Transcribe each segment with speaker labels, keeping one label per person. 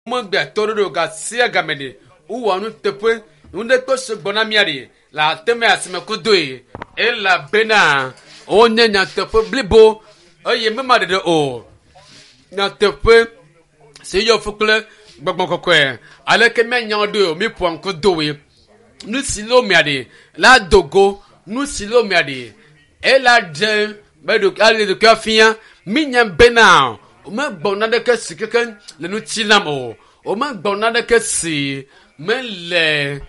Speaker 1: Womegbea toɖoɖo gasia game ɖe. Wowɔ nuteƒe. Nu ɖe kpe sugbɔ na mía ɖe le ate me asime kudoe elabena wonye nyateƒe blibo eye mema ɖeɖe o. Nyateƒe si yɔ fu kple gbɔgbɔ kɔkɔe. Aleke míanya wo ɖoe o míƒoa ŋku doe. Nu si le wo mea ɖe la do go. Nu si le wo mea ɖe ela ɖe be ɖo ale ɖokuia fia. Mínya bena womegbɔ naneke si keke le ŋuti nam o. Womegbɔ naneke si mele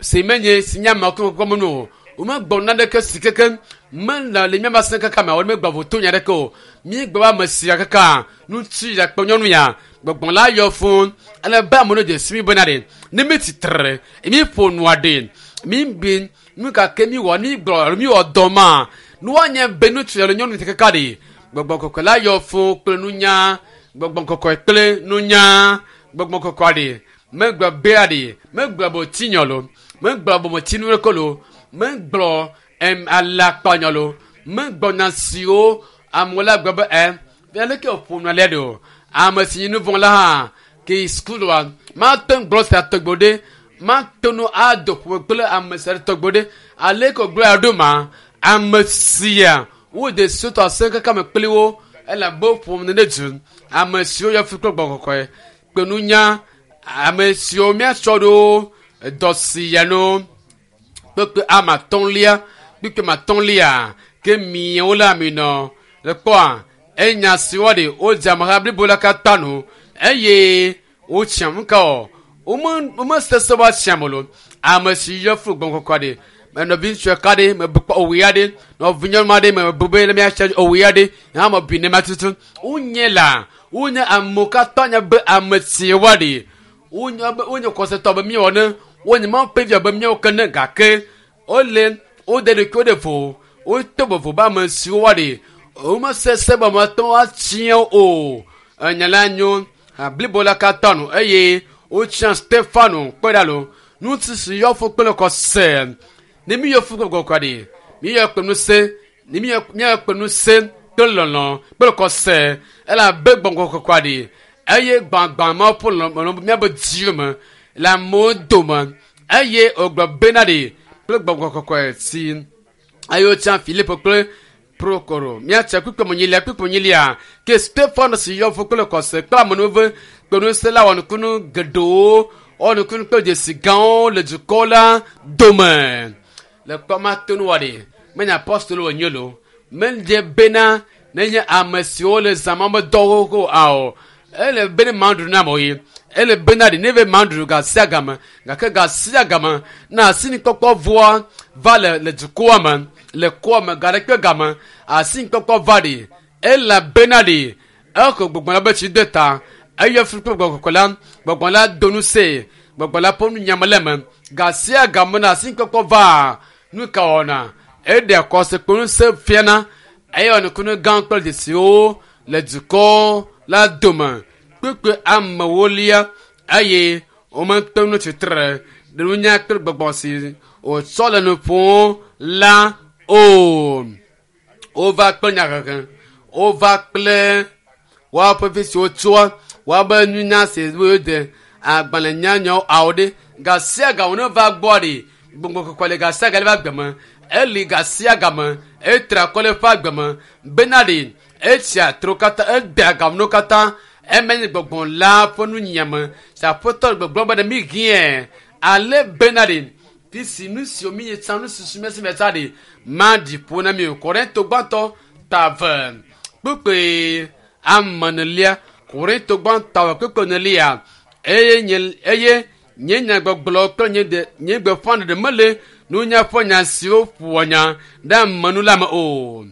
Speaker 1: si menye si nye amewo kɔkɔ me nu o. Womegbɔ naneke si keke mele le míaƒe asẽ kaka me o. Womegbɔ voto nya ɖeke o. Míegblɔ be ame sia kaka ŋutsu ya kple nyɔnu ya gbɔgbɔ la yɔ fũ ale be amewo dze si mi bena ɖe ne mi tsitre mi ƒo nua ɖe mi bi nu gake mi wɔ mi gblɔ alo mi wɔ dɔ ma nua nye be ŋutsu alo nyɔnu kaka ɖe gbɔgbɔ kɔkɔe la yɔ fũ kple nunya gbɔgbɔ kɔkɔe kple nunya gbɔgbɔ kɔkɔe ɖe megblɔ bea ɖe megblɔ botinyɔ lo megblɔ bometsinu ɖe ko lo megblɔ em alakpanyɔ lo megblɔ nya siwo amewo la gblɔ be ɛ aleke wòƒo nu alea ɖe o ame si nye nu vɔ̃ la hã ke yi sukulua mate ŋu gblɔ sia tɔgbe ɖe mate ŋu ado ƒome kple ame sia tɔgbe ɖe aleke wògblɔ ya ɖo ma ame sia wode sotɔ asẽ kaka me kpli wo elabe woƒo nu ɖe du ame siwo yɔ fi kple gbɔgbɔ kɔkɔe kple nunya ame siwo míatsɔ ɖo dɔ si ya no kpekpe ame atɔ̃lia kpekpe ame atɔ̃lia ke miawo la mi nɔ le kpɔa enya si woaɖe wodze ameha blibo la katã nu eye wotsiam nuka o wome womesese va tsiam o lo ame si yɔ flu gbɔn kɔkɔ ɖe me nɔvi ŋutsu ɖeka ɖe mebu kpɔ owu ya ɖe nɔvi nyɔnu aɖe mebu be le míatsia owu ya ɖe hã me bi ne ma tutu wonye la wonye amewo katã nye be ame si woaɖe wonye be wonye kɔsetɔ be míewɔ ne wonye mawu ƒe vi be míawo ke ne gake wole wode ɖokuiwo ɖe vo woto vovo be ame siwo woaɖe womesese be mate ŋu atsia o enya la nyo blibo la katã nu eye wotsia Stefano kpe ɖa lo ŋutsu si yɔ fu kple kɔse ne mi yɔ fu kple kɔkɔe ɖe mi yɔ kple ŋusẽ ne mi yɔ mi yɔ kple ŋusẽ kple lɔlɔ kple kɔse elabe gbɔgbɔ kɔkɔe ɖe eye gbãgbã ma ƒo lɔlɔ miabe dziwo me le amewo dome eye wògblɔ bena ɖe kple gbɔgbɔ kɔkɔe si eye wotsia Filipo kple Prokoro míatsia kpukpui menyilia kpukpui menyilia ke Stefano si yɔ fu kple kɔse kple amenuveve kple ŋusẽ la wɔ nukunu geɖewo wɔ nukunu kple dzesi gãwo le dukɔ la dome le kpɔ ma to nu wɔ ɖe menye apɔstolo wònye lo medze bena nenye ame siwo le zãma me dɔwo ko ao ele be ne maɖu na amewo ye ele bena ɖe ne be maɖu ga sia game gake ga sia game na asinikpɔkpɔ voa va le le dukɔa me le kɔa me ga ɖe kpe game asinikpɔkpɔ va ɖe elabena ɖe exɔ gbɔgbɔ la be tsi de ta eyɔ fi kple gbɔgbɔ kɔkɔe la gbɔgbɔ la do nu se gbɔgbɔ la ƒe nu nyame le me ga sia game na asinikpɔkpɔ va nu ka wɔna eɖe kɔse kple ŋusẽ fiana eye wɔ nukunu gã kple dzesiwo le dukɔ la dome kpekpe amewo lia eye womete ŋu tsitre ɖe nunya kple gbɔgbɔ si wòtsɔ le nu ƒom la o. Wova kple nyahehe, wova kple woaƒe fi si wotsoa woabe nunya si wode agbalẽnyanyawo awo ɖe ga sia ga wòne va gbɔ ɖe gbɔgbɔ kɔkɔe le ga sia ga le eƒe agbe me eli ga sia ga me etra akɔ le eƒe agbe me bena ɖe etsia tro katã edea ganuwo katã eme nye gbɔgbɔ la ƒe nunyiame si aƒetɔ le gbɔgblɔm be ɖe mi hiɛ ale bena ɖe fi si nu siwo mi tsã nu si mi si mi tsã ɖe maɖi ƒo na mi o Korinto gbãtɔ ta eve kpukpui ame enelia Korinto gbãtɔ eve kpukpui enelia eye nye eye nye nyagbɔgblɔ kple nye de nye gbeƒãɖeɖe mele nunya ƒe nya siwo ƒoa nya ɖe ame nu la me o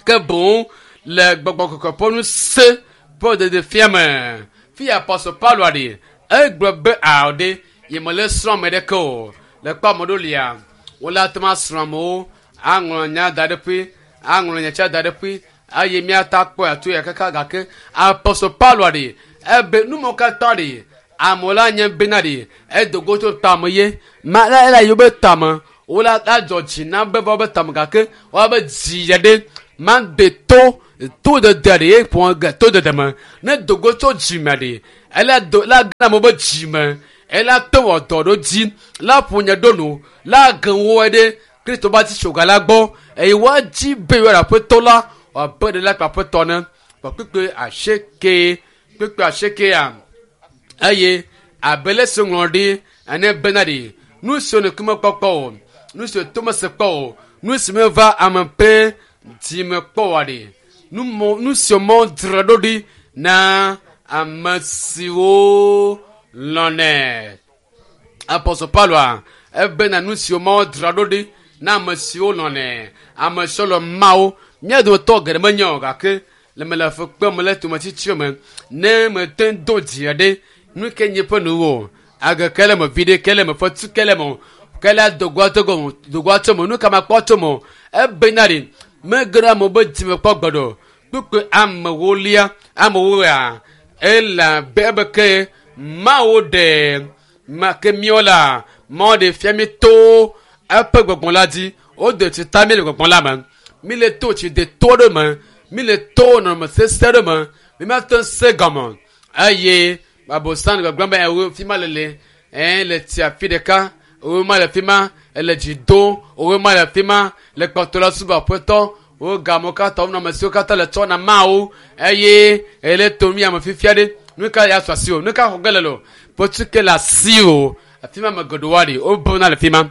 Speaker 1: ke boŋ le gbɔgbɔ kɔkɔe ƒe ŋusẽ ƒe ɖeɖefia me fi apɔstol Paulo ɖe egblɔ be ao ɖe yemele srɔ̃ ame ɖeke o le kpɔ ame ɖewo lia wole ate ŋu asrɔ̃ amewo aŋlɔ nya da ɖe ƒe aŋlɔ nya tsia da ɖe ƒe eye míata kpɔe ato ya kaka gake apɔstol Paulo ɖe ebe nu mawo katã ɖe amewo la nye bena ɖe edo go tso tame ye ma la ela yewo be tame wola adzɔ dzi na be va be tame gake woabe dzi ya ɖe ma de to to dede ɖe ye ƒo ge to dede me ne do go tso dzi me ɖe Ela do la gã amewo be dzime. Ela to wɔ dɔ ɖo dzi. La ƒo nye ɖo nu. La ge wo ɖe Kristo ba tsi tsoga la gbɔ eye woadzi be yewoaɖe aƒetɔ la wòabe ɖe la kple aƒetɔ ne. Vɔ kpukpui 8 kpukpui 8 eye abe le si ŋlɔ ɖi ene bena ɖi nu siwo ŋkume kpɔkpɔ o, nu siwo tome se kpɔ o, nu si meva ame ƒe dzime kpɔ oa ɖi, nu siwo mɔ dzra ɖo ɖi na ame siwo lɔ̃nɛ. Apɔstɔ Pauloa ebena nu siwo Mawu dzra ɖo ɖi na ame siwo lɔ̃nɛ, ame siwo lɔ̃ Mawu. Mía dometɔ geɖe menye o gake le me le fukpem le tometsitsi me ne mete ŋu do dzi ɖe nu ke nye ƒe nuwo age ke le me viɖe ke le me fetu ke le me ke le dogoa to gɔme dogoa tso me nu ka makpɔ tso me ebena ɖi mege ɖe amewo be dzime kpɔ gbe ɖo kpukpui amewolia amewoa elabe ebe ke Mawu ɖe ma ke míawo la Mawu ɖe fia mi to eƒe gbɔgbɔ la dzi wode tsi ta mi le gbɔgbɔ la me mi le to tsi de to ɖe me mi le to nɔnɔme sesẽ ɖe me mi mate ŋu se gɔme eye abosan le gbɔgblɔm be ewo fi ma lele ɛɛ le tsi afi ɖeka owo ma le fi ma ele dzi do owo ma le fi ma le kpɔtɔ la subɔ aƒetɔ wo gamewo katã wo nɔnɔme siwo katã le tsɔ na Mawu eye ele to mi ame fifia ɖe nu ka ya sɔ asi o nu ka xɔ ge le lo fetsu ke le asi o afi ma ame geɖewo ɖi wobuna le fi ma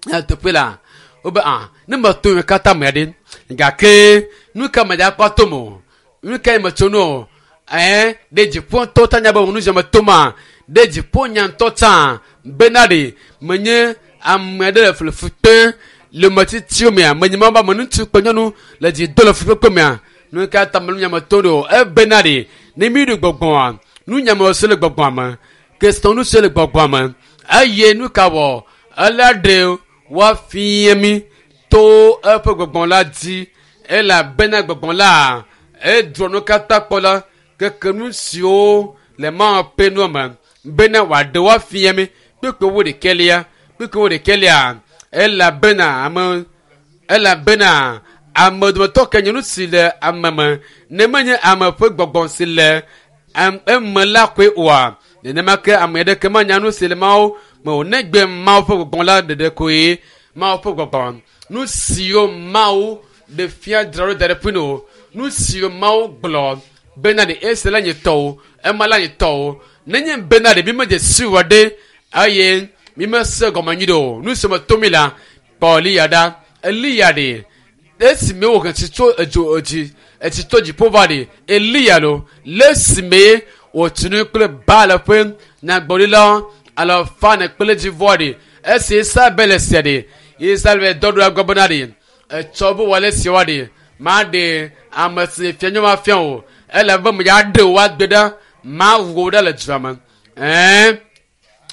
Speaker 1: teƒe la wobe ah ne meto mi katã me ɖe gake nu ka me dza kpɔ to me o nu ka me tso no o ɛɛ ɖe dziƒo ŋutɔ ta nya be nu sia me to ma ɖe dziƒo nya ŋutɔ tsã bena ɖe menye ame ɖe le flefu kpe le metsitsiwo mea menye ma be ame ŋutsu kple nyɔnu le dzi do le fukpekpe mea nu ka ta me nu nya me to ɖo ebena ɖe ne mi ɖo gbɔgbɔa nu nya me se le gbɔgbɔa me kesinɔnu se le gbɔgbɔa me eye nu ka wɔ ela ɖe woafia mi to eƒe gbɔgbɔ la dzi elabena gbɔgbɔ la edrɔ nu katã kpɔ la keke nu siwo le Mawu ƒe nua me bena wòaɖe woafia mi kpukpui wo ɖekɛlia kpukpui wo ɖekɛlia elabena ame elabena ame dometɔ ke nye nu si le ame me ne menye ame ƒe gbɔgbɔ si le eme la koe oa nenema ke ame aɖeke menya nu si le Mawu me o negbe Mawu ƒe gbɔgbɔ la ɖeɖe koe Mawu ƒe gbɔgbɔ nu siwo Mawu ɖe fia dzra ɖo da ɖe ƒui no nu siwo Mawu gblɔ bena ɖe esi la nye tɔwo ema la nye tɔwo nenye bena ɖe mi medze si wɔ ɖe eye mi mese gɔme nyui ɖe o nu si me to mi la kpɔ Eliya ɖa Eliya ɖe esime wòhe tsi tso edzo edzi etsi tso dziƒo va ɖe Eliya lo le esime wòtsi nu kple Baal ƒe nyagblɔɖila alafa ene kple dzivɔ ɖe esi Isabel sia ɖe Isabel dɔ ɖo egbɔ bena ɖe etsɔ be wòale sia wa ɖe maɖe ame si fia nyɔ ma fia o ele be me ya ɖe wo agbe ɖa mawu wo ɖa le dua me ɛɛ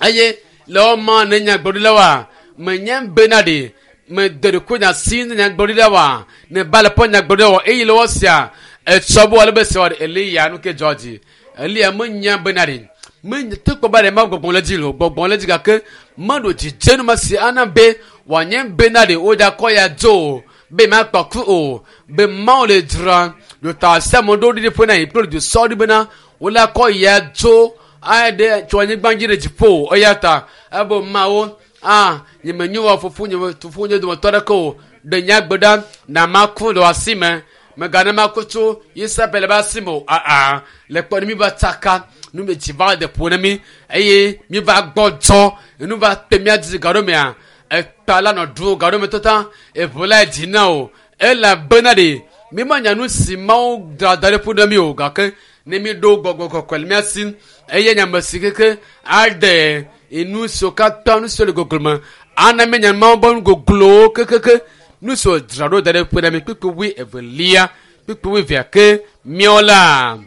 Speaker 1: eye le wɔma ne nyagblɔɖila wa menye bena ɖe mede ɖeko nya si ne nyagblɔɖila wa ne Baal ƒe nyagblɔɖila wa eye le wɔ sia etsɔ be wòale be sia wa ɖe Eliya nu ke dzɔ dzi Eliya menya bena ɖe menye to kpɔ be ɖe ma gbɔgbɔ le dzi lo gbɔgbɔ le dzi gake meɖo dzidzenu ma si ana be wòanye bena ɖe wodza kɔ ya dzo o be makpɔ ku o be Mawu le dzra ɖota sia ame ɖo ɖi ƒe na yi kple du sɔ ɖi bena wole akɔ ya dzo ayi ɖe tso anyigba dzi ɖe dziƒo eya ta ebe Mawu ah nye menyo wɔ fofo nye fofo nye dometɔ ɖeke o ɖe nye agbe ɖa na maku le wò asi me megana maku tso Isabel be asi me o aa le kpɔ ne mi va tsaka nu me dzi va de ƒo na mi eye mi va gbɔdzɔ nu va te mía dzi gaɖo mea ekpa la nɔ ɖu gaɖo me tata eʋu la dzi na o elabena ɖe mi menya nu si Mawu dzra da ɖe ƒo na mi o gake ne mi ɖo gbɔgbɔ kɔkɔe le mía si eye nye ame si keke aɖe nu siwo katã nu siwo le goglo me ana mi nya Mawu be nu goglowo kekeke nu siwo dzra ɖo da ɖe ƒo na mi kpukpui wui evelia kpukpui wui evea ke míawo la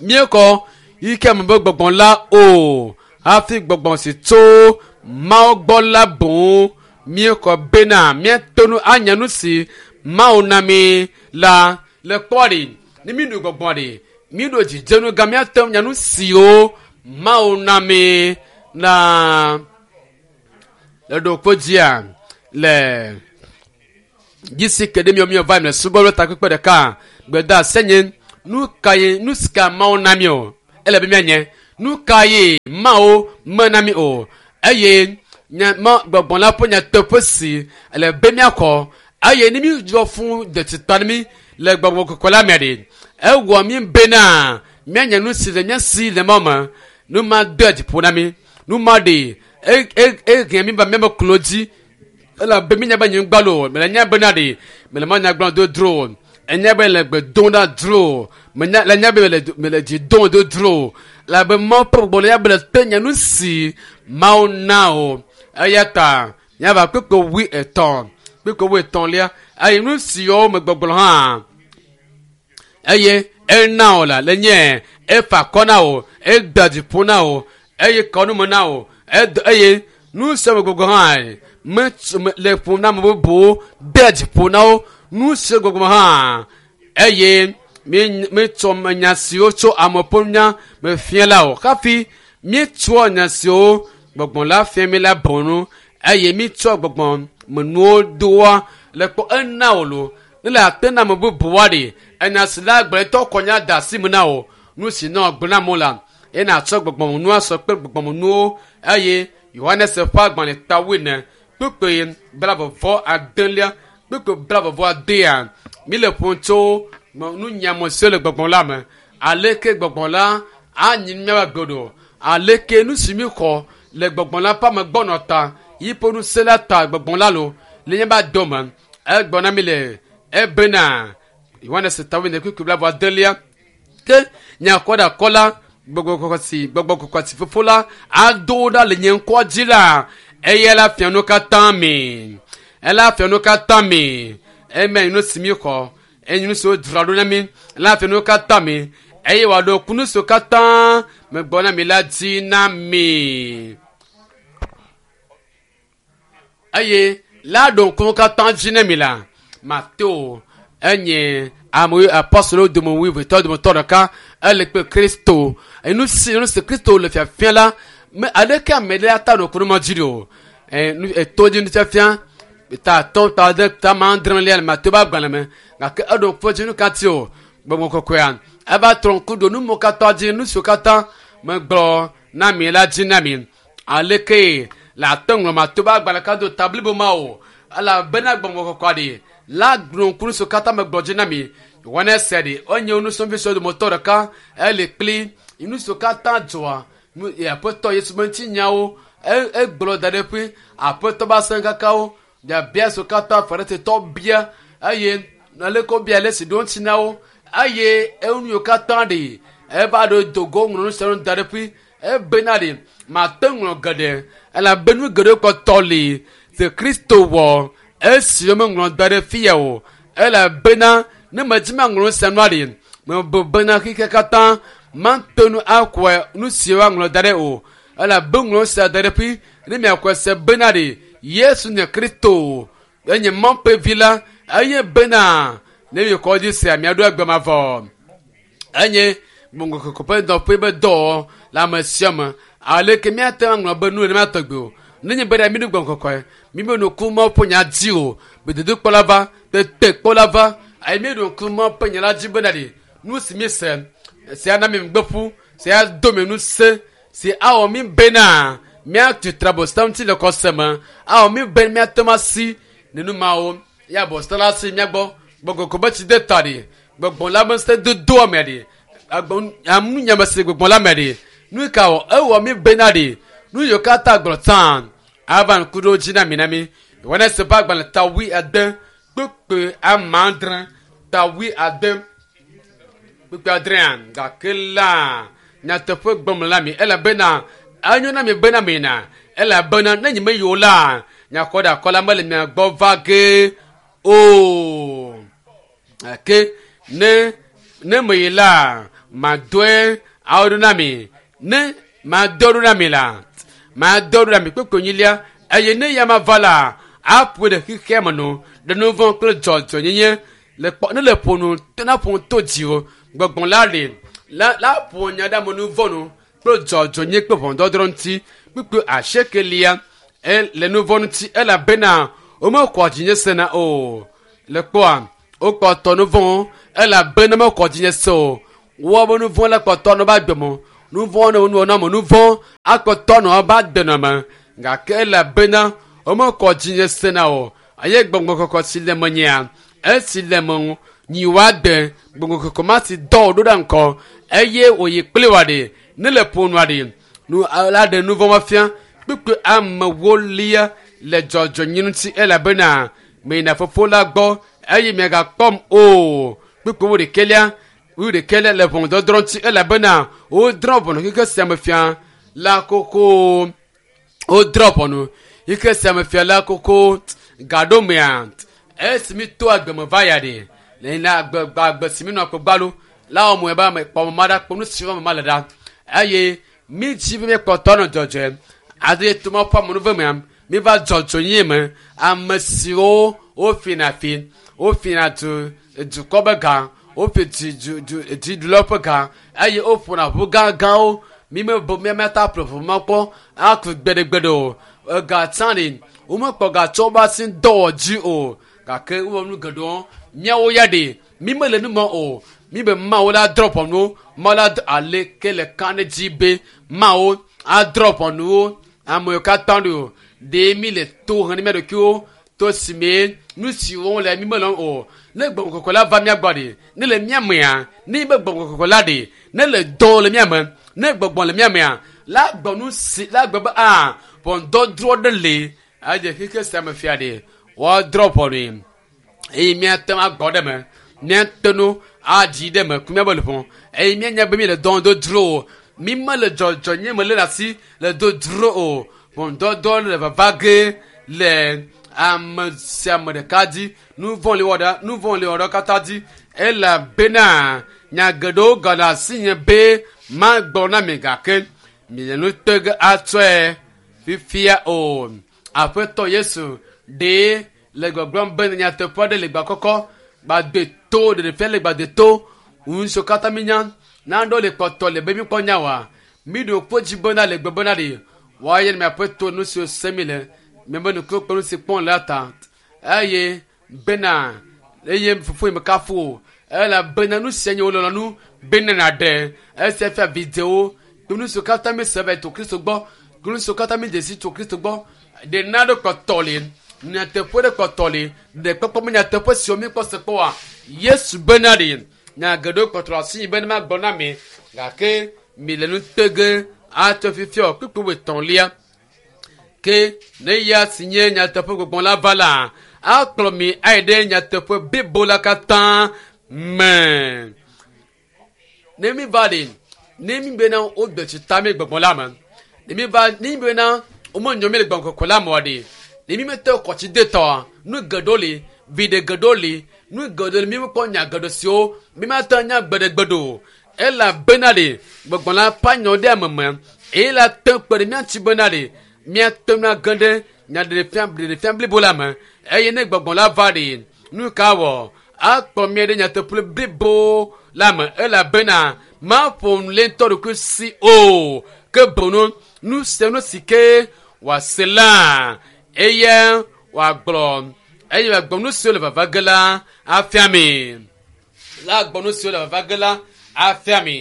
Speaker 1: míekɔ yi ke ame be gbɔgbɔ la o hafi gbɔgbɔ si tso Mawu gbɔ la boŋ míekɔ bena míato nu anya nu si Mawu na mi la le kpɔ ɖi ne mi ɖo gbɔgbɔ ɖi mi ɖo dzidzenu gã míate ŋu nya nu siwo Mawu na mi la le ɖo dzia le dzisi ke ɖe miɔ miɔ va le subɔ ɖe takpekpe ɖeka gbeda senye nu ka ye nu si ka Mawu na mi o ele be míanye Nu ka ye Mawu mena mi o? Eye nya ma gbɔgbɔ la ƒe nyateƒe si le be míaxɔ eye ne mídzɔ fũ de tsita na mí le gbɔgbɔ kɔkɔe la me ɖe, ewɔ mí bena míanya nu si le mía si le Mawu me. Nu ma dea dzi ƒo na mí. Nu ma ɖe ehe mí va míaƒe klo dzi elabe mínya be nyigba lo mele nya bena ɖe mele ma nya gblɔm do dro enya be le gbe dom ɖa dro menya le nya be mele mele dzi dom do dro elabe Mawu ƒe gbɔgbɔ le nya be le te nya nu si Mawu na o eya ta míava kpekpe 80 kpekpe 81 eye nu siwo me gbɔgblɔ hã eye ena wò la le nye efa akɔ na wò ede dzi ƒo na wò eye kɔ nu me na wò ed eye nu sia me gbɔgbɔ hã me me le ƒom na ame bubuwo de dzi ƒo na wo nu sia gbɔgbɔ hã eye mi mitsɔ nya siwo tso ame ƒe nya me fia la o hafi míetsɔ nya siwo gbɔgbɔ la fia mi la bɔ nu eye mítsɔ gbɔgbɔ me nuwo doa le kpɔ ena wò lo ne le ate na ame bubuwoa ɖe enya si la gblɔtɔ kɔ nya de asi me na wò nu si nɔ gblɔ na amewo la eye nàtsɔ gbɔgbɔmenuwo asɔ kple gbɔgbɔmenuwo eye Yohanes ƒe agbalẽ ta 10 kpukpui 29 kpukpui 29 míle ƒom tso nunyame siwo le gbɔgbɔ la me aleke gbɔgbɔ la anyi míaƒe agbe ɖo aleke nu si míxɔ le gbɔgbɔ la ƒe amegbɔnɔ ta yiƒe ŋusẽ la ta gbɔgbɔ la lo le míaƒe adome egblɔ na mi le ebena Yohanes ta 10 kpukpui 29 ke nyakɔɖakɔ la gbɔgbɔ kɔkɔe si fofo la ado ɖa le nye ŋkɔ dzi la eya la fia nu katã mi ela fia nu katã mi eme nu si mi xɔ eye nu siwo dzra ɖo na mi ela fia nu katã mi eye wòaɖo ku nu siwo katã megbɔ na mi la dzi na mi eye la ɖo ŋku katã dzi na mi la Mateo enye ame apɔstolowo dome wuivetɔ dometɔ ɖeka ele kple Kristo nu si nu si Kristo le fiafia la me aleke ame ɖe ata ɖo ku ma dzi ɖo eto dzi nufiafia ta 5 ta 6 ta 7 lia le Mateo ƒe agbalẽ me gake eɖo ŋku dzi nu ka ti o gbɔgbɔ kɔkɔea eva trɔ ŋku ɖo nu mo katã dzi nu siwo katã megblɔ na mi la dzi na mi aleke le ate ŋlɔ Mateo ƒe agbalẽ ka do ta blibo ma o elabena gbɔgbɔ kɔkɔea ɖe la gblɔ ŋku nu siwo katã megblɔ dzi na mi Yohanes ɖe enye nusrɔ̃vi siwo dometɔ ɖeka ele kpli nu siwo katã dzɔa aƒetɔ Yesu ƒe ŋutinyawo egblɔ da ɖe ƒe aƒetɔ ƒe asẽkakawo biabia siwo katã Farisitɔ bia eye aleke wobia ale si ɖo ŋuti na wo eye enu yiwo katã ɖe eva ɖo do go ŋlɔ nu siawo da ɖe ƒe ebena ɖe mate ŋlɔ geɖe elabe nu geɖewo kpɔtɔ li si Kristo wɔ esi womeŋlɔ da ɖe fia o elabena ne medzi maŋlɔ nu sia nua ɖe mebe bena xexea katã mate nu akɔe nu si woaŋlɔ da ɖe o elabe ŋlɔ nu sia da ɖe ƒe ne miakɔe se bena ɖe Yesu nye Kristo enye Mawu ƒe vi la eye bena ne miekɔ dzi sea miaɖo agbe mavɔ enye gbɔgbɔ kɔkɔe ƒe dɔƒe be dɔ le ame sia me aleke míate ŋu aŋlɔ be nu nenema tɔgbi o nenye be ɖe míɖo gbɔgbɔ kɔkɔe míbe ŋku Mawu ƒe nya dzi o gbedodokpɔ la va tetekpɔ la va eye míeɖo ŋku Mawu ƒe nya la dzi bena ɖe nu si míese si ana mi ŋugbe ƒu si ado mi ŋusẽ si awɔ mi bena míatu trabosam ŋuti le xɔse me awɔ mi be míate ŋu asi nenumawo ya bosam la si míagbɔ gbɔgbɔ kɔkɔe be tsi de ta ɖe gbɔgbɔ la be ŋusẽ dodoa me ɖe amunyame si gbɔgbɔ la me ɖe nu ka wɔ ewɔ mi bena ɖe nu yiwo katã gblɔ tsã ava ŋku ɖo dzi na mi na mi Yohanes ƒe agbalẽ ta 80 kpukpui 6 ta 80 kpukpui 6 gake la nyateƒe gblɔm la mi elabena enyo na mi bena mina elabena ne nye meyi o la nyakɔɖakɔ la mele mia gbɔ va ge o gake ne ne meyi la madɔe awo ɖo na mi ne madɔ ɖo na mi la madɔ ɖo na mi kpukpui 2 eye ne ya ma va la aƒoe ɖe xexea me nu ɖe nu vɔ̃ kple dzɔdzɔnyenye le kpɔ ne le ƒo nu na ƒo to dziwò gbɔgbɔ la le la la ƒo nya ɖe ame nu vɔ̃ nu kple dzɔdzɔnyenye kple ʋɔnudɔdrɔ̃ ŋuti kpukpui 8 le nu vɔ̃ ŋuti elabena womexɔ dzinye sena o le kpɔa wokpɔtɔ nu vɔ̃ elabena mexɔ dzinye se o woabe nu vɔ̃ la kpɔtɔ no ba agbe me Nu vɔ̃ ne wonɔ na me nu vɔ̃ akpɔtɔ nɔ aba denɔme gake elabena womekɔ dzinye sena o eye gbɔgbɔ kɔkɔ si le menyea esi le me ŋu nyi woade gbɔgbɔ kɔkɔ ma si dɔ wò ɖo ɖe ŋkɔ eye wòyi kpli wòa ɖe ne le ƒonua ɖe nu la ɖe nu vɔ̃ ma fia kpukpui amewo lia le dzɔdzɔnyi ŋuti elabena meyina fofo la gbɔ eye miagakpɔm o kpukpui wo ɖekɛlia wo ɖekɛlia le ʋɔnudɔdrɔ̃ ŋuti elabena wodrɔ̃ ʋɔnu xexe sia me fia la koko wodrɔ̃ ʋɔnu xexe sia me fia la koko gaɖomea esi mi to agbeme va ya ɖe le na agbe agbe si mi nɔ akpɔ gbalo la wɔmɔ ebe ame kpɔ ma ɖa kpɔ nu si wɔm ma le ɖa eye mi dzi be miekpɔtɔ nɔ dzɔdzɔe ade to ma ƒe amenuve mea mi va dzɔdzɔ nyie me ame siwo wofina fi wofina du dukɔ be gã wofi dzi du du dziɖulawo ƒe gã eye woƒona ʋu gãgãwo mi me bo miamia ta ƒle ʋu ma kpɔ aku gbeɖegbeɖe o ega tsã ɖi womekpɔ gatsɔ woƒe asi dɔwɔ dzi o gake wowɔ nu geɖewo miawo ya ɖe mi mele nu me o mi be mawo la drɔ ʋɔnuwo mawo la aleke le ka ɖe dzi be mawo adrɔ ʋɔnuwo amewo katã ɖo o ɖe mi le to he ne mia ɖokuiwo to si me nu siwo le mi mele o ne gbɔgbɔ kɔkɔe la va mia gbɔ ɖe ne le mia mea ne be gbɔgbɔ kɔkɔe la ɖe ne le dɔ le mia me ne gbɔgbɔ le mia mea la gbɔ nu si la gbɔ be a ʋɔnudɔdrɔ̃ ɖe le eye xexe sia me fia ɖe woadrɔ̃ ʋɔnui eye míate ŋu agbɔ ɖe me míate ŋu adzi ɖe me ku míabe luʋɔ eye míanya be míele dɔn do dzro o mi mele dzɔdzɔ nye me le ɖe asi le do dzro o ʋɔnudɔdrɔ̃ le vava ge le ame sia ame ɖeka dzi nu vɔ̃ li wɔ ɖe nu vɔ̃ li wɔ ɖe katã dzi elabena nya geɖewo gale asi nye be magbɔ na mi gake mi le nu te ge atsɔe fifia o aƒetɔ yesu ɖe le gbɔgblɔm be nyateƒe aɖe le gbakɔkɔ gbade to ɖeɖefia le gbade to ŋusiwo katã mi nya naɖewo le kpɔtɔ le be mikpɔ nya wa mi ɖo kpo dzi bena le gbe bena ɖe woaye ne miaƒe to nu siwo se mi le miabe nukuwo kple nu si kpɔm le la ta eye bena eye fofo yi me kafu o elabena nu sia nye wo lɔlɔ̃nu bena nàɖe esia fia vidzewo kple nu siwo katã mi se va yi to kristo gbɔ kple nu siwo katã mi dze si tso kristo gbɔ ɖe naɖe kpɔtɔ li nyateƒe ɖe kpɔtɔ li ɖe kpɔkpɔ me nyateƒe siwo mi kpɔ se kpɔ wa yesu bena ɖe nya geɖewo kpɔtɔ le asi yi be ne magblɔ na mi gake mi le nu te ge atsɔ fifia o kpukpui wuietɔ̃lia ke ne ya si nye nyateƒe gbɔgbɔ la va la akplɔ mi ayi ɖe nyateƒe blibo la katã me ne mi va ɖe ne mi bena wogbe tsi ta mi gbɔgbɔ la me ne mi va ne mi bena womenyɔ mi le gbɔgbɔ kɔkɔe la me wa ɖe ne mi mete kɔtsi de tɔa nu geɖewo li viɖe geɖewo li nu geɖewo li mi mekpɔ nya geɖe siwo mi mate nya gbeɖegbeɖe o elabena ɖe gbɔgbɔ la ƒe anyɔ ɖe ame me eye la te kpe ɖe mía ŋuti bena ɖe míate ŋu age ɖe nyaɖeɖefia ɖeɖefia blibo la me eye ne gbɔgbɔ la va ɖe nu ka wɔ akpɔ mía ɖe nyateƒe blibo la me elabena maƒo nu le ŋutɔ ɖokui si o ke boŋ nu sia nu si ke wòase la eye wòagblɔ eye wòagblɔ nu siwo le vava ge la afia mi la gbɔ nu siwo le vava ge la afia mi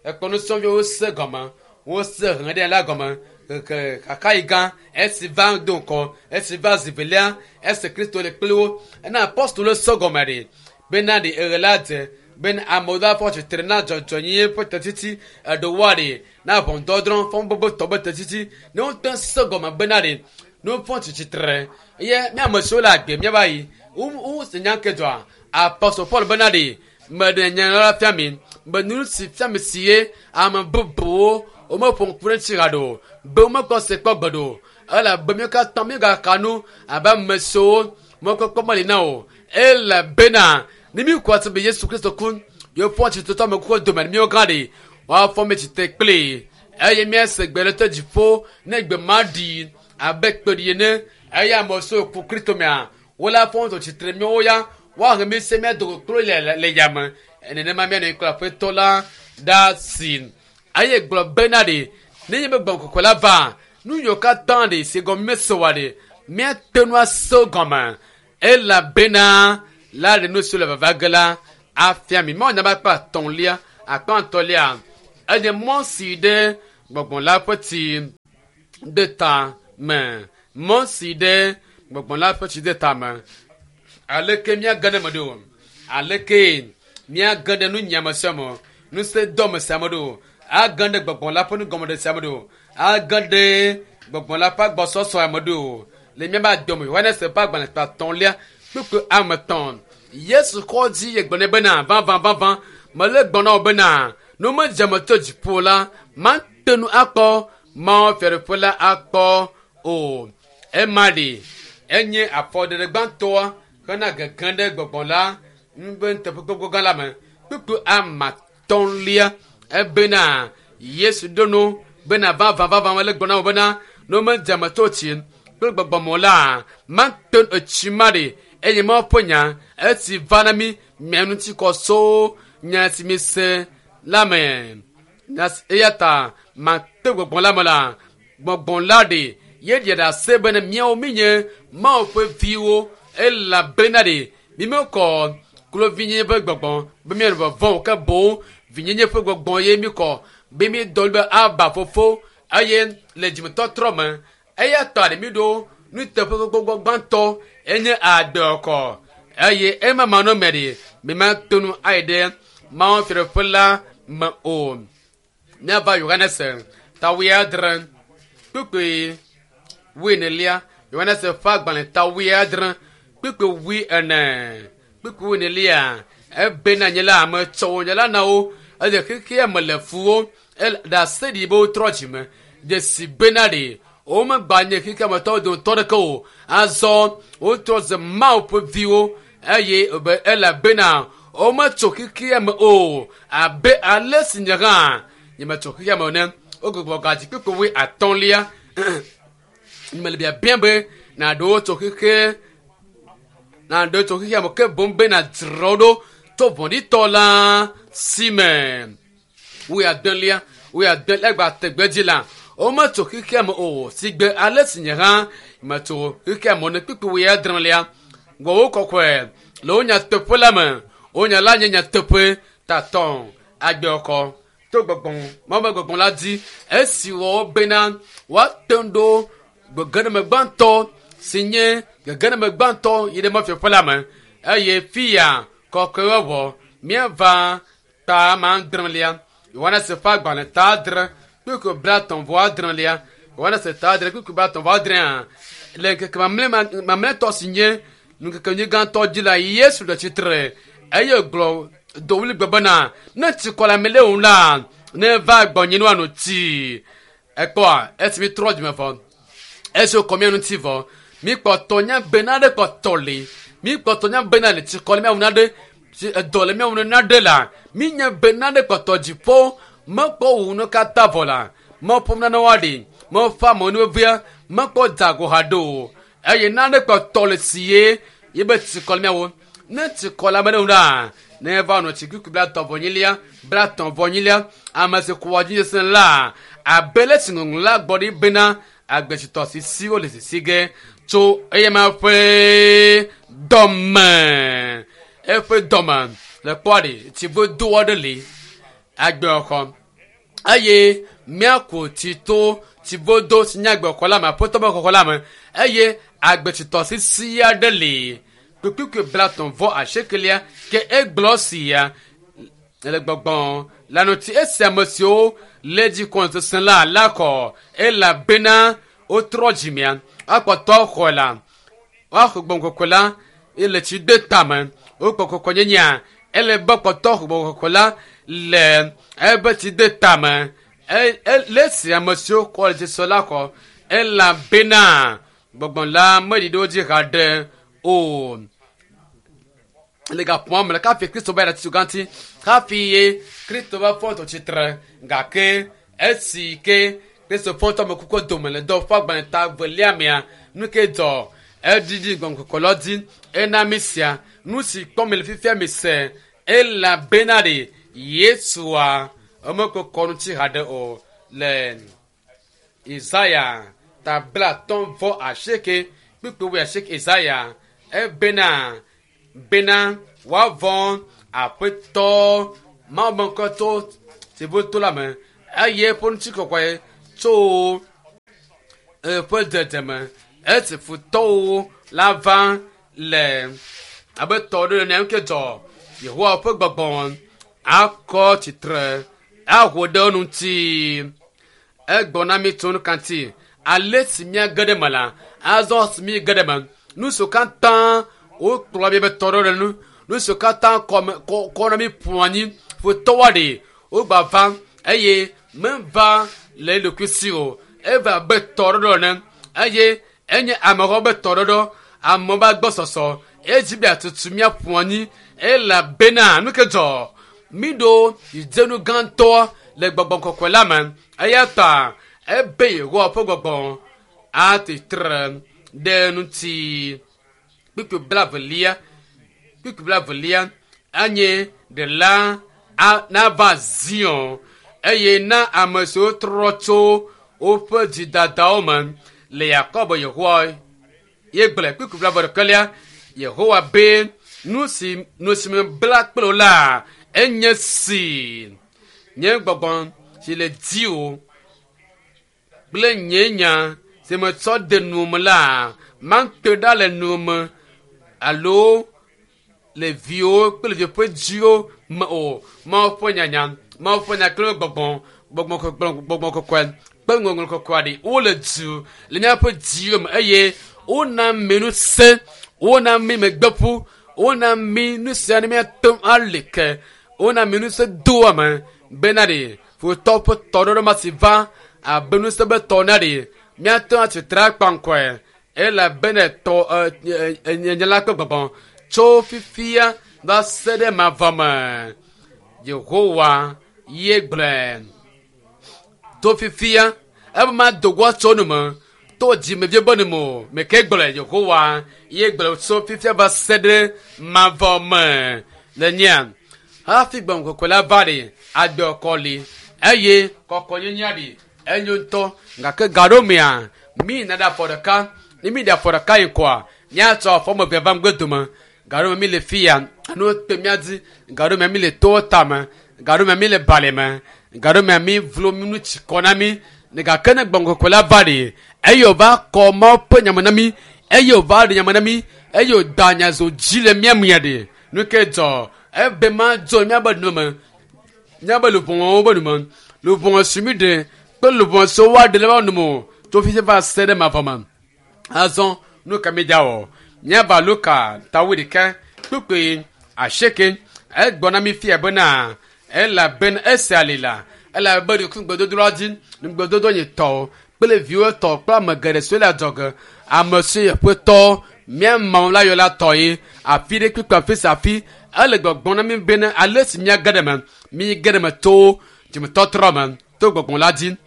Speaker 1: ekpɔ nusrɔ̃viwo se gɔme wose hlẽ ɖe la gɔme keke kaka yi gã esi va do ŋkɔ esi va zi velia esi kristo le kpli wo ena apɔstolo se gɔme ɖe bena ɖe eɣe la dze bena amewo la fɔ tsitre na dzɔdzɔnyenye ƒe tetiti eɖewoa ɖe na ʋɔnudɔdrɔ̃ fɔbɔbɔtɔ be tetiti ne wote se gɔme bena ɖe ne wofɔ tsitre eye mía ame siwo le agbe míava yi wo wo se nya ke dzɔa apɔstol paul bena ɖe meɖe nya la fia mi be nu si fia mi si ye ame bubuwo womeƒo ŋku ɖe ŋuti haɖe o be womekpɔ se kpɔ gbeɖe o elabe míwo katã míegaka nu abe ame siwo mɔkpɔkpɔ meli na o elabena ne míku ase be yesu kristo ku yewoƒɔ tsitretɔ ame kukuwo dome ne míwo gã ɖe woafɔ mi tsitre kpli eye míase gbe ɖe te dziƒo ne gbe ma ɖi abe kpeɖi ene eye ame siwo ku kristo mea wole afɔ ŋutɔ tsitre míawo ya woahe mi se mía dogo klo le le le yame nenema míanɔ kple aƒetɔ la ɖa si eye gblɔ bena ɖe nenye be gbɔgbɔ kɔkɔe la va nu yiwo katã ɖe si gɔme mese oa ɖe míate ŋu ase wo gɔme elabena la ɖe nu siwo le vava ge la afia mi mawu nya be akpa atɔ̃lia akpa atɔ̃lia Enye mɔ si ɖe gbɔgbɔ la ƒe tsi ɖe ta me. Mɔ si ɖe gbɔgbɔ la ƒe tsi ɖe ta me. Aleke míage ɖe eme ɖo? Aleke míage ɖe nunyiame sia me? Ŋusẽdɔme sia me ɖo? Age ɖe gbɔgbɔ la ƒe nugɔmeɖe sia me ɖo? Age ɖe gbɔgbɔ la ƒe agbɔsɔsɔ me ɖo? Le míaƒe adome Yohanes ƒe agbalẽ etɔ̃lia kpukpui ame etɔ̃. Yesu xɔ dzi ye gblɔ nɛ bena, vavã vavã, mele gblɔ na wò bena, ne womedze ame tso dziƒo la, mate ŋu akpɔ Mawu fiaɖuƒe la akpɔ o. Ema ɖi enye afɔɖeɖe gbãtɔa hena gege ɖe gbɔgbɔ la ƒe nuteƒekpɔkpɔ gã la me. Kpukpui ame atɔ̃lia ebena Yesu ɖo nu bena vavã vavã mele gblɔ na wò bena ne womedze ame tso tsi kple gbɔgbɔ me o la, mate ŋu etsi ma ɖi eye Mawu ƒe nya esi va na mí mia ŋuti kɔ so nya si mise la me. Eya ta mate gbɔgbɔ la me la, gbɔgbɔ la ɖi ye ɖia ɖase bena míawo míenye Mawu ƒe viwo elabena ɖi mímekɔ kluvinyenye ƒe gbɔgbɔ be míanɔ vɔvɔ̃m o ke boŋ vinyenye ƒe gbɔgbɔ ye míkɔ be míedɔ be Aba fofo eye le dzimetɔtrɔ me eya ta ɖe míɖo nuteƒekpɔkpɔ gbãtɔ enye agbekɔ eye ema manɔme ɖi mímate ŋu ayi ɖe Mawu fiaɖuƒe la me o. Míava Yohanes ta wuiadre kpukpui wuienelia. Yohanes ƒe agbalẽ ta wuiadre kpukpui wuiene kpukpui wuienelia. Ebena nye la ame tsɔ wo nye la na wo eye xexea me le fu wo ɖase ɖi be wotrɔ dzime dzesi bena ɖi womegba nye xexea me tɔwo dometɔ ɖeke o. Azɔ wotrɔ ze Mawu ƒe viwo eye be elabena wometso xexea me o abe ale si nye hã nyemetso xexea me o ene. Wogbugbɔ gadzi kpukpui wui atɔ̃lia. Mele biabia be nàɖewo tso xexe nàɖewo tso xexea me ke boŋ be nàdzra wo ɖo tso vɔ̃ɖitɔ la si me. Wui adelia wui adelia egba te gbe dzi la wometso xexea me o si gbe ale si nye hã metso xexea me ne kpukpui wui adrelia. Gbɔwò kɔkɔe le wo nyateƒe la me. Wo nya la nye nyateƒe tatɔ agbekɔ to gbɔgbɔ Mawu ƒe gbɔgbɔ la dzi esi wɔ bena woate ŋu ɖo gegeneme gbãtɔ si nye gegeneme gbãtɔ yi ɖe mɔfiaƒe la me eye fia kɔkɔewɔwɔ míava ta ma adrelia Yohanes ƒe agbalẽ ta adre kpukpui blaetɔ̃ vɔ adrelia Yohanes ta adre kpukpui blaetɔ̃ vɔ adrea le ŋkeke mamlɛtɔ si nye ŋkeke nyui gãtɔ dzi la Yesu le tsitre eye gblɔ do ɣli gbe bena ne tsikɔ le ame le ŋu la ne va gbɔnye ne woano tsi. Ekpɔa esi mi trɔ dzime vɔ esi wokɔ mía ŋuti vɔ mi kpɔtɔ nya bena ɖe kpɔtɔ li mi kpɔtɔ nya bena le tsikɔ le mía ŋu naɖe edɔ le mía ŋu naɖe la mi nya bena ɖe kpɔtɔ dziƒo mekpɔ wu nu katã vɔ la meƒo nane woaɖi meƒe amewo nu vevia mekpɔ dzago haɖe o eye nane kpɔtɔ le si ye ye be tsikɔ le mía ŋu ne tsikɔ le ame ɖe ŋu la ne va nɔ tsi kpukpui blaetɔ̃ vɔ enyilia blaetɔ̃ vɔ enyilia ame si kua dzi sesẽ la abe le si ŋɔŋlɔ la gbɔ ɖi bena agbetsitɔ sisiwo le sisi ge tso eyama ƒe dɔme eƒe dɔme le kpɔa ɖi tsivudo aɖe li agbexɔ eye míaku tsi to tsivudo si nye agbexɔ la me aƒetɔ ƒe xɔxɔ la me eye agbetsitɔ sisi aɖe li kpukpui blaetɔ̃ vɔ asiekelia ke egblɔ sia le gbɔgbɔ la ŋuti esi ame siwo le dzi kɔn sesẽ la la kɔ elabena wotrɔ dzimea akpɔtɔ xɔ la woaxɔ gbɔgbɔ kɔkɔe la ele tsi de tame wokpɔ kɔkɔnyenyea ele be kpɔtɔ xɔ gbɔgbɔ kɔkɔe la le ebe tsi de tame le esi ame siwo kɔ le dzi la kɔ elabena gbɔgbɔ la meɖi ɖe wo dzi haɖe o. Le gaƒoa me la hafi Kristo va yi ɖe atitsoga ŋuti hafi ye Kristo va fɔ tɔ tsitre gake esi ke Kristo fɔ tɔ ame kuku dome le dɔ ƒe agbalẽ ta evelia mea nu ke dzɔ eɖiɖi gbɔgbɔ kɔkɔe la dzi ena mi sia nu si kpɔm mi le fifia mi se elabena ɖe Yesua emekɔkɔ ŋuti haɖe o le Isaya ta blaatɔ̃ vɔ asieke kpukpui wui asieke Isaya ebena bena woavɔ̃ aƒetɔ Mawu ƒe ŋkɔ tso Tsivo to la me eye eƒe ŋutikɔkɔe tso eƒe dzedzeme. Esi futɔwo la va le abe tɔ ɖe ene ke dzɔ Yehowa ƒe gbɔgbɔ akɔ tsitre aho ɖe wo ŋuti. Egblɔ na mi tso nu ka ŋuti ale si míage ɖe eme la, azɔ si míege ɖe eme. Nu siwo katã wokplɔ mi be tɔ ɖe nu, nu siwo katã kɔme kɔ kɔ na mi ƒu anyi futɔwoa ɖe wogba va eye meva le eɖokui si o. Eva abe tɔɖɔɖɔ ene eye enye amexɔ be tɔɖɔɖɔ amewo be agbɔsɔsɔ edzi be atutu míaƒu anyi elabena nu ke dzɔ míɖo dzidzenu gãtɔ le gbɔgbɔ kɔkɔe la me eya ta ebe Yehowa ƒe gbɔgbɔ atitre ɖe ŋuti. Kpukpui blaevelia kpukpui blaevelia anye ɖela nava Zion eye na ame siwo trɔ tso woƒe dzidadawo me le Yakob Yehowa ye gblɔe. Kpukpui blaeve ɖekelia Yehowa be nu si nu si mebla kple wò la enye si nye gbɔgbɔ si le dziwò kple nye nya si metsɔ de nu me la mate ɖa le nu me alo le viwo kple vi ƒe dziwo me o. Mawu ƒe nyanya, Mawu ƒe nya kple gbɔgbɔ, gbɔgbɔ kɔkɔe, gbɔgbɔ kɔkɔe kple ŋɔŋlɔ kɔkɔe ɖi wole du le míaƒe dziwo me eye wona mi ŋusẽ, wona mi megbeƒu, wona mi nu sia ne míate ŋu ali ke, wona mi ŋusẽ doa me bena ɖe futɔ ƒe tɔɖɔɖɔ ma si va abe ŋusẽ be tɔ na ɖe míate ŋu atsitre akpaŋkɔe elabena tɔ nye la ƒe gbɔgbɔ tso fifia va se ɖe mavɔ me. Yehowa ye gblɔe. To fifia ebe ma do go tso nu me to dzimevie be nu me o. Meke gblɔe Yehowa ye gblɔe tso fifia va se ɖe mavɔ me. Le nyea hafi gbɔgbɔ kɔkɔe la va ɖe agbe kɔ li eye kɔkɔnyenyea ɖi enyo ŋutɔ gake gaɖo mea mi na ɖe afɔ ɖeka ne mi ɖe afɔ ɖeka yi kɔa míatsɔ afɔ me eve va ŋgɔ dome gaɖo me mi le fia anu kpe mía dzi gaɖo me mi le towo tame gaɖo me mi le bali me gaɖo me mi vlo mi nu tsi kɔ na mi ne gake ne gbɔgbɔ kɔkɔe la va ɖe eye wòva kɔ Mawu ƒe nyame na mi eye wòva ɖe nyame na mi eye wòda nyazo dzi le mía mea ɖe nu ke dzɔ ebe ma dzo míabe nu me míabe luʋɔwo be nu me luʋɔ si mi ɖe kple luʋɔ siwo woaɖe le woa nu me o tso fifi va se ɖe mavɔ me. Azɔ nu ka mi dza wɔ míava Luka tawu ɖeka kpukpui asieke egblɔ na mi fia bena elabena esi ali la elabe ɖe ŋugbedodoa dzi ŋugbedodo nye tɔ kple viwo tɔ kple ame geɖe siwo le adzɔge ame siwo yeƒe mía mawu la yɔ la tɔ ye afi ɖe kpekpe afi sia afi ele gbɔgbɔm na mi bena ale si míage ɖe me míge ɖe me to dzimetɔtrɔ me to gbɔgbɔ la dzi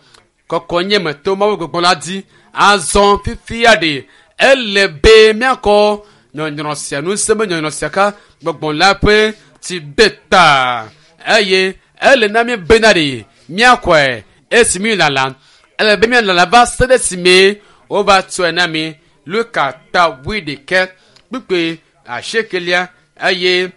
Speaker 1: kɔkɔnye me to Mawu gbɔgbɔ la dzi azɔ fifia ɖe ele be míakɔ nyɔnyrɔ sia ŋusẽ be nyɔnyrɔ sia ka gbɔgbɔ la ƒe tsi de ta eye ele na mi bena ɖe míakɔe esi mi lala ele be míalala va se ɖe esime wova tsɔe na mi Luka ta wuiɖekɛ kpukpui asiekelia eye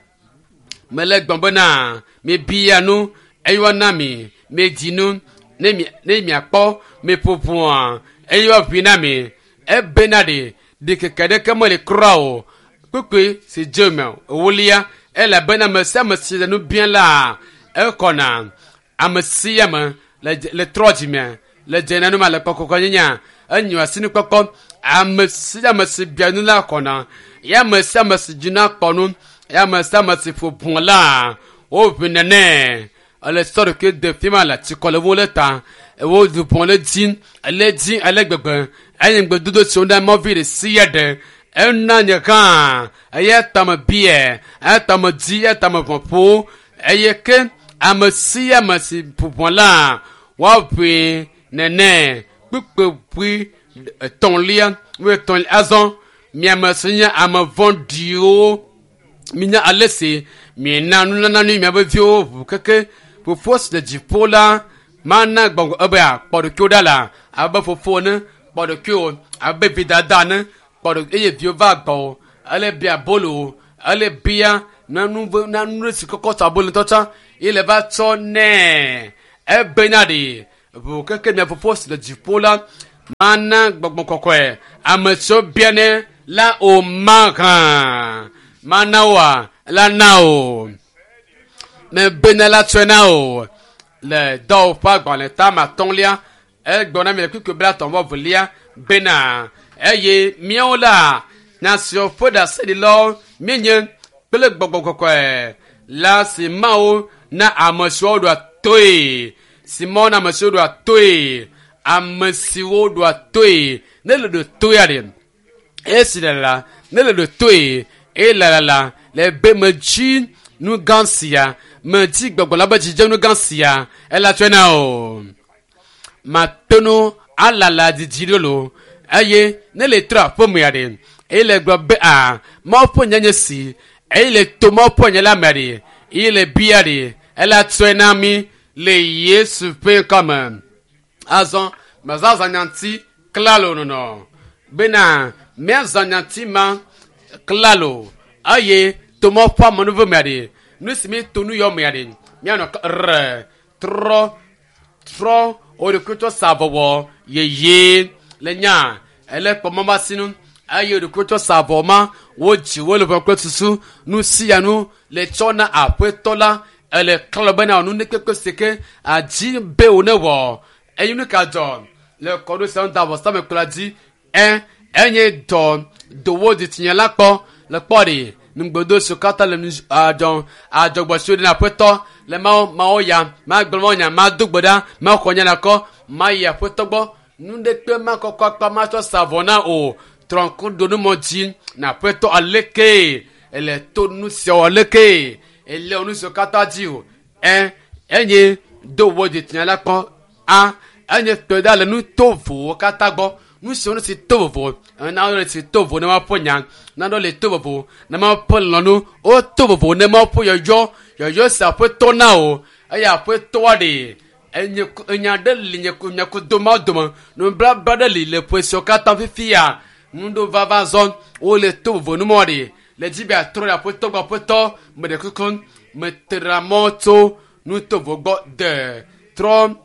Speaker 1: mele gblɔm bena mibia nu eye woana mi midi nu ne mi ne miakpɔ miƒo ʋɔa eye woaʋui na mi ebena ɖe ɖikeke ɖeke mele kura o kpukpui si dze me ewolia elabena ame sia ame si le nu biam la ekɔna ame sia ame le le trɔ dzime le dze na nu ma le kɔkɔkɔnyenya enyo asinukpɔkpɔ ame sia ame si bia nu la kɔna ya ame sia ame si dzina kpɔ nu ya ame sia ame si ƒo ʋɔ la woʋui nene ele sɔ ɖokui de fi ma le tsikɔ le wo le ta wo dubɔn le dzi ele dzi ele gbegbe eye ŋugbedodo si wona mɔvi ɖe sia ɖe ena nye hã eya tame bia eya tame dzi eya tame ʋɔ ƒo eye ke ame sia ame si ƒo ʋɔ la woaʋui nene kpukpui etɔ̃lia wuietɔ̃lia azɔ miame si nye ame vɔ̃ɖiwo minya ale si miena nunana nu miaƒe viwo ʋu keke fofo si le dziƒo la mana gbɔgbɔ ebe kpɔ ɖokuiwò ɖa la abe fofo ene kpɔ ɖokuiwò abe vidada ene kpɔ ɖo eye viwo va gbɔwò ele bia bolo ele bia nanu nanu si kɔkɔ tso abolo ŋutɔ tsã ye le va tsɔ nɛ. Ebena ɖe ʋu keke mia fofo si le dziƒo la mana gbɔgbɔ kɔkɔe ame siwo bianɛ la o mahã. Mana woa la na o. Mebena la tsɔe na o. Le dɔwɔƒe agbalẽ tame atɔ̃lia egblɔ na mi le kpukpui blaetɔ̃ vɔ velia bena eye míawo la nya siwo ƒe ɖaseɖilawo míenye kple gbɔgbɔ kɔkɔe la si Mawu na ame siwo ɖoa toe si Mawu na ame siwo ɖoa toe ame siwo ɖoa toe ne le ɖo toea ɖe esi le la ne le ɖo toe eye la la le be medzi nu gã sia medzi gbɔgbɔ la be dzidzenu gã sia ela tsɔe na o matonu alala didi ɖo lo eye ne le trɔ aƒemea ɖe eye le gblɔ be a mawu ƒe nye nye si eye le to mawu ƒe nye la mea ɖe eye le bia ɖe ela tsɔe na mi le Yesu ƒe ŋkɔme. Azɔ mezazã nyati klalo nɔnɔ bena míazã nyati ma klalo eye to mawu ƒe amenuveve mea ɖe nu si mi to nu yɔ mea ɖe míanɔ re trɔ trɔ wo ɖokui tsɔ sa avɔwɔ yeye le nya ele kpɔ mama sinu eye wo ɖokui tsɔ sa avɔ ma wodzi wo le ƒe kple susu nu sia nu le tsɔ na aƒetɔ la ele klɔ bena nu ne kpekpe si ke adzi be wo ne wɔ eye nu ka dzɔ le kɔɖo sia da vɔsamekplɔ dzi ɛ enye dɔ dowo dzitsinya la kpɔ le kpɔ ɖi nugbodo siwo katã le nu adzɔ adzɔgbɔ siwo ɖe na aƒetɔ le mawo mawo ya magblɔ mawo nya mado gbe ɖa maxɔ nya la kɔ mayi aƒetɔ gbɔ nu ɖekpe makɔkɔ akpa matsɔ sa avɔ na o trɔnku ɖonumɔ dzi na aƒetɔ aleke ele to nu siawo aleke ele nu siwo katã dzi o ɛ enye do wo dzitsinya la kpɔ a enye tɔ ɖa le nu tovowo katã gbɔ nu siwo nu si to vovo naɖo le si to vovo ne maƒe nya naɖo le to vovo ne maƒe lɔnu wo to vovo ne maƒe yɔyɔ yɔyɔ si aƒetɔ na o eye aƒetɔa ɖe enye enya ɖe li nye nye kudo mawo dome nublabla ɖe li le ƒe siwo katã fifia nuɖo vava zɔ wole to vovo numɔ ɖe le dzi be atrɔ ɖe aƒetɔ gbɔ aƒetɔ me ɖe kuku metra mɔ tso nu tovo gbɔ de trɔ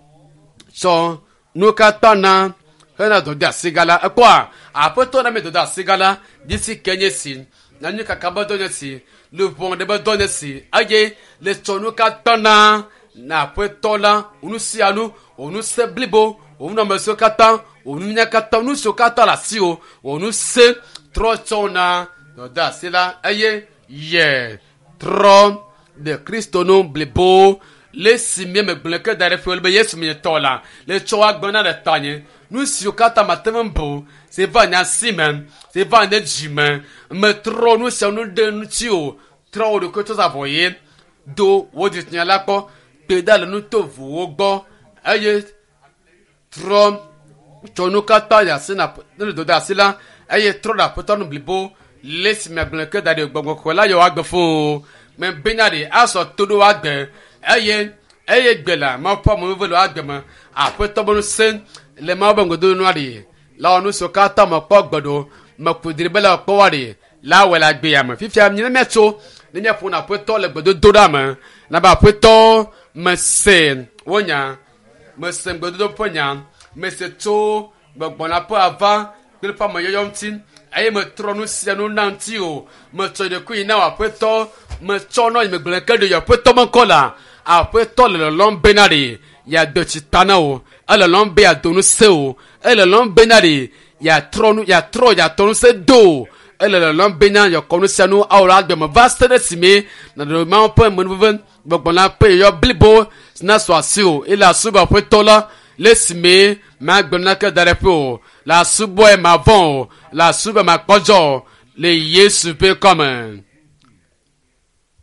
Speaker 1: tsɔ nu katã na hena dɔde asi gã la ekpɔa aƒetɔ na mi dɔde asi gã la disi ke nye si nanyi kaka be dɔ nye si luʋɔ ɖe be dɔ nye si eye le tsɔ nu katã na na aƒetɔ la nu sia nu wò ŋusẽ blibo wò nunɔamesiwo katã wò nunya katã nu siwo katã le asiwò wò ŋusẽ trɔ tsɔ na dɔde asi la eye yɛ trɔ ɖe kristo nu blibo le si mi megblẽ ke da ɖe fi be yesu mi tɔ la le tsɔ agbe na ɖe tanye nu siwo katã mate ŋu bu si va nye asi me si va nye dzi me metrɔ nu sia nu ɖe ŋuti o trɔ wo ɖokui tsɔ sa vɔ ye do wo dzitsinya la kpɔ kpe ɖa le nu tovowo gbɔ eye trɔ tsɔ nu katã yi asi na ne do de asi la eye trɔ ɖe aƒetɔ nu blibo le si megblẽ ke da ɖe gbɔgbɔ kɔkɔe la yɔ agbe fo me bena ɖe asɔ to ɖo agbe eye eye gbe la mawu ƒe amewo le agbe me aƒetɔ be ŋusẽ le mawu be ŋgodo nua ɖe la wɔ nu siwo katã me kpɔ gbe ɖo meku dri be la kpɔ wa ɖe la wɔ le agbea me fifia mi ne míatso ne míaƒo na aƒetɔ le gbedodo ɖa me na be aƒetɔ mese wo nya mese ŋgbedodo ƒe nya mese tso gbɔgbɔ la ƒe ava kple ƒe ameyɔyɔ ŋuti eye metrɔ nu sia nu na ŋuti o metsɔ ɖekui na wò aƒetɔ metsɔ nɔ yi megblẽ ke ɖe yɔ aƒetɔ me ŋkɔ la aƒetɔ le lɔlɔm bena ɖe yeado tsi ta na wò ele lɔm be yeado nu se o ele lɔm bena ɖe yeatrɔ nu yeatrɔ yeatɔ nu se do o ele lɔlɔm bena yeakɔ nu sia nu awɔ le agbe me va se ɖe esime nàɖe mawu ƒe menuveve gbɔgbɔ la ƒe yɔyɔ blibo si na sɔ asi o ele asubɔ aƒetɔ la le esime magbe naneke da ɖe ƒe o le asubɔe mavɔ̃ o le asubɔe makpɔdzɔ o le yesu ƒe kɔme.